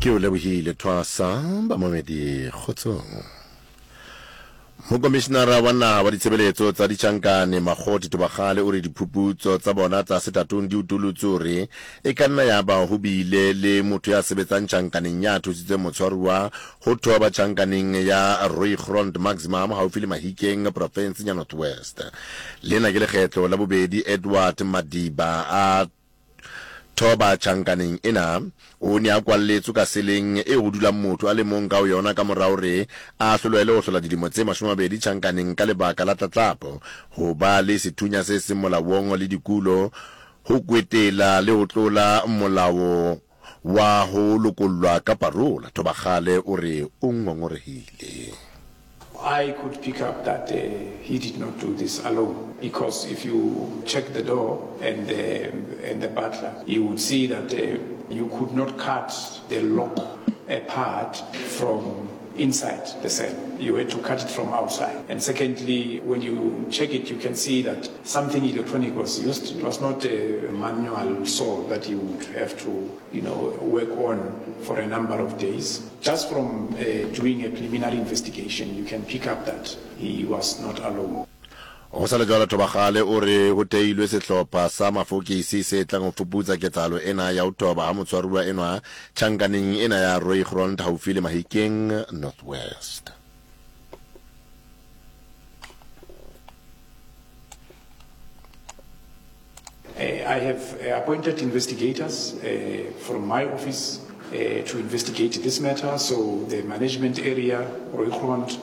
Ke o lebohile Thwasa, bamamedi kgotsong. Mokomishinara wa naha wa ditshebeletso tsa ditjhankane Makgothi Thobakgale o re diphuputso tsa bona tsa setatong di utulotse hore e ka nna ya ba ho bile le motho ya sebetsang tjhankaneng ya thusitseng motshwaruwa ho thoba tjhankaneng ya Rooigrond Maximum haufi le Mahikeng profenseng ya North West. Lena ke lekgetlo la bobedi Edward Madiba a Thoba tjhankaneng ena. O ne a kwalletswe ka seleng eo ho dulang motho a le mong ka ho yona ka mora hore a ahlolwele ho hlola dilemo tse 20 tjhankaneng ka lebaka la tlatlapo, ho ba le sethunya se seng molaong le dikulo, ho kwetela le ho tlola molao wa ho lokollwa ka parola. Thobakgale o re o ngongorehile. I could pick up that he did not do this alone because if you check the door and the, and the butler, you would see that you could not cut the lock apart from inside the cell. You had to cut it from outside. And secondly, when you check it, you can see that something electronic was used. It was not a manual saw that you would have to, you know, work on for a number of days. Just from uh, doing a preliminary investigation, you can pick up that he was not alone. Go sa le jwalo, Thobakgale o re ho teilwe sehlopha sa mafokisi se tlang ho fuputsa ketsahalo ena ya ho thoba ha motshwaruwa enwa tjhankaneng ena ya Rooigrond haufi le Mahikeng, North West. I have appointed investigators from my office to investigate this matter, so the management area, Rooigrond,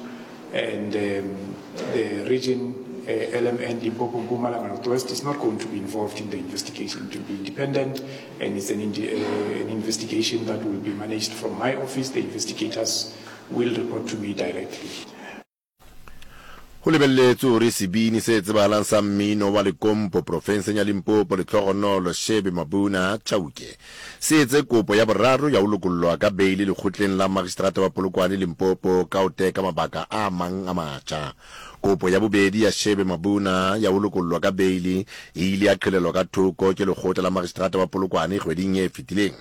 and um, the region uh, LMN Limpopo Mpumalanga Northwest is not going to be involved in the investigation. It will be independent and it's an, uh, an investigation that will be managed from my office. The investigators will report to me directly. Go lebeletswe gore sebini se tsebahalang sa mmino wa Lekompo profenseng ya Limpopo Lehlogonolo Shebe Mabuna Chauke se etse kopo ya boraro ya ho lokollwa ka beili lekgotleng la magistrata wa Polokwane Limpopo ka ho teka mabaka a mang a matjha. Kopo ya bobedi ya Shebe Mabuna ya ho lokollwa ka beili e ile ya qhelelwa ka thoko ke lekgotla la magistrata wa Polokwane kgweding e fetileng.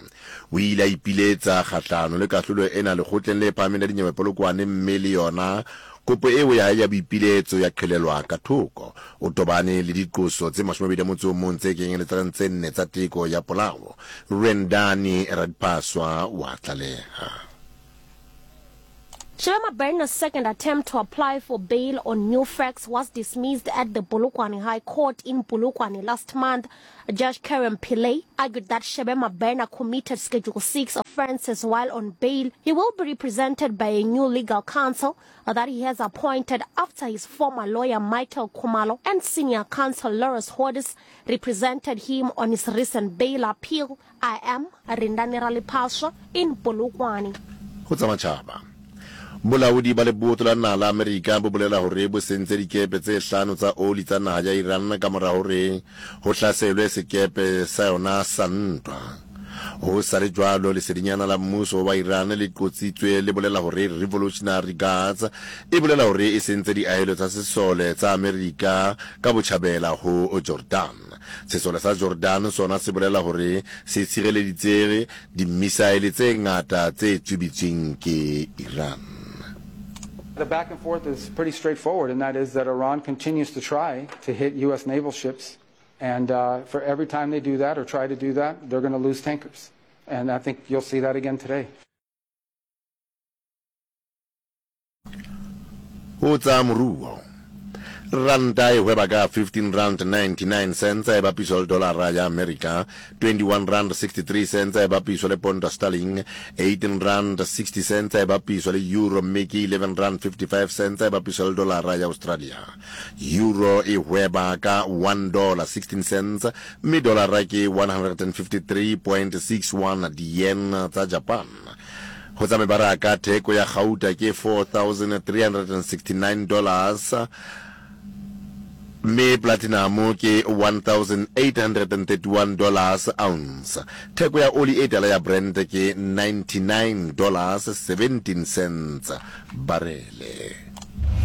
O ile a ipiletsa kgahlano le kahlolo ena lekgotleng le phahameng la dinyewe Polokwane mme le yona kopo eo ya hae ya boipiletso ya qhelelwa ka thoko. O tobane le diqoso tse 21 tse kenyeletsang tse nne tsa teko ya polao. Rendani Radipaswa wa tlaleha. Shebe Mabena's second attempt to apply for bail on new facts was dismissed at the Polokwane High Court in Polokwane last month. Judge Karen Pillay argued that Shebe Mabena committed Schedule 6 offences while on bail. He will be represented by a new legal counsel that he has appointed after his former lawyer Michael Khumalo and senior counsel Lawrence Hodis represented him on his recent bail appeal. I am Rindani Ralipaswa in Polokwane. Ho tsa matjhaba. Bolaodi ba lebotho la naha la Amerika bo bolela hore bo sentse dikepe tse hlano tsa oli tsa naha ya Iran ka mora hore ho hlaselwe sekepe sa yona sa ntwa. Ho sa le jwalo, lesedinyana la mmuso wa Iran le qotsitswe le bolela hore Revolutionary Guards e bolela hore e sentse diahelo tsa sesole tsa Amerika ka botjhabela ho Jordan. Sesole sa Jordan sona se bolela hore se tshireleditse dimmisaele tse ngata tse tswibitsweng ke Iran. The back and forth is pretty straightforward, and that is that Iran continues to try to hit U.S. naval ships, and uh, for every time they do that or try to do that, they're going to lose tankers. And I think you'll see that again today. Ho tsa moruo, Ranta e hweba ka 15 rand 99 cents e bapiswa le dolara ya Amerika, 21 rand 63 cents e bapiswa le ponta sterling, 18 rand 60 cents e bapiswa le euro mme ke 11 rand 55 cents e bapiswa le dolara ya Australia. Euro e hweba ka 1 dollar 16 cents mme dolara ke 153.61 di-yen tsa Japan. Go tsa mebaraka, theko ya gauta ke 4,369 dollars mme platinum ke 1,831 dollars ounce. Theko ya oli e tala ya Brent ke 99 dollars 17 cents barele.